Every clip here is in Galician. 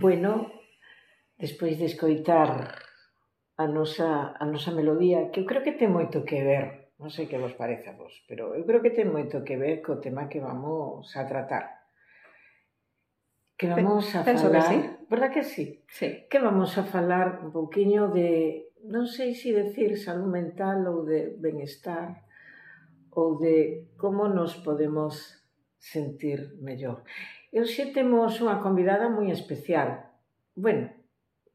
Bueno, despois de escoitar a nosa melodía, que eu creo que ten moito que ver, non sei que vos parece a vos, pero eu creo que ten moito que ver co tema que vamos a tratar. Que vamos a Penso que falar, sí. verdad que sí? Sí. Que vamos a falar un pouquiño de, non sei se decir saúde mental ou de benestar, ou de como nos podemos sentir mellor. E hoxe temos unha convidada moi especial. Bueno,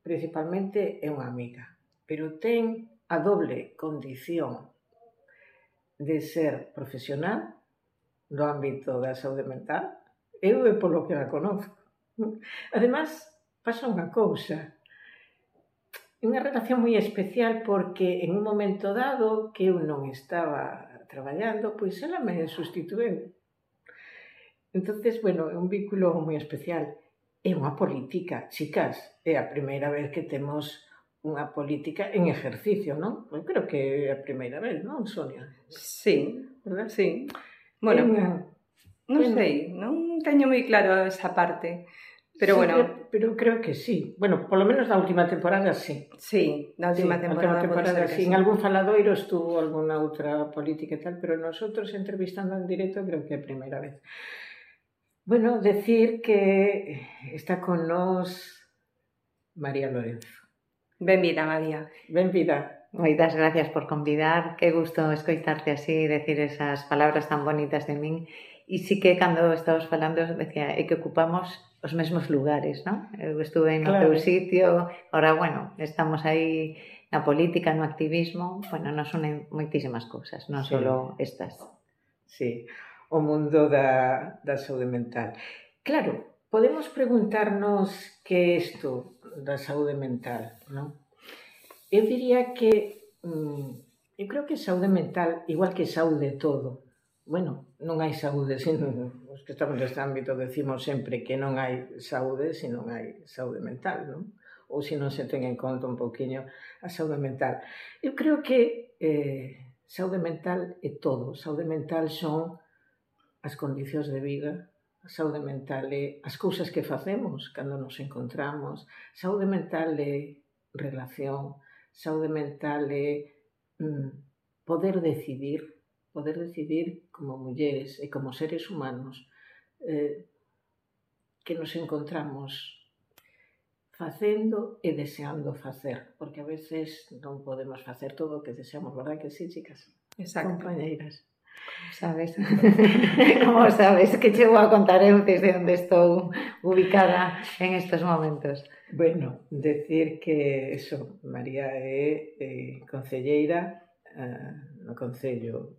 principalmente é unha amiga, pero ten a doble condición de ser profesional no ámbito da saúde mental. Eu é polo que a conozco. Ademais, pasa unha cousa, unha relación moi especial porque en un momento dado que eu non estaba traballando, pois ela me sustitueu. Entonces, bueno, é un vínculo moi especial. É unha política, chicas, é a primeira vez que temos unha política en ejercicio, non? Eu creo que é a primeira vez, non, Sonia? Sí, Verdad? sí. Bueno, non bueno, sei, non teño moi claro esa parte, pero sí, bueno. Pero creo que sí. Bueno, polo menos na última temporada sí. Sí, na última temporada pode ser que sí. sí. En algún faladoiro estuvo alguna outra política e tal, pero nosotros entrevistando en directo creo que é a primeira vez. Bueno, decir que está con nós María Lorenzo. Benvida, María. Benvida. Moitas gracias por convidar, que gusto escoitarte así, decir esas palabras tan bonitas de min. E sí que cando estabas falando, decía, é que ocupamos os mesmos lugares, non? Eu estuve no teu sitio, ahora, bueno, estamos aí na política, no activismo, bueno, nos unen moitísimas cousas, non só estas. Sí, o mundo da saúde mental. Claro, podemos preguntarnos que é isto da saúde mental, non? Eu diría que eu creo que saúde mental, igual que saúde todo, bueno, non hai saúde, sino os que estamos neste ámbito decimos sempre que non hai saúde se non hai saúde mental, non? Ou se non se ten en conta un pouquiño a saúde mental. Eu creo que saúde mental é todo. Saúde mental son as condicións de vida, a saúde mental é as cousas que facemos cando nos encontramos, saúde mental é relación, saúde mental é poder decidir como mulleres e como seres humanos que nos encontramos facendo e deseando facer, porque a veces non podemos facer todo o que deseamos, verdad que sí, chicas? Exacto. Compañeiras. Sabes? Como sabes que che vou a contar eu desde onde estou ubicada en estes momentos? Bueno, decir que eso, María é concelleira no Concello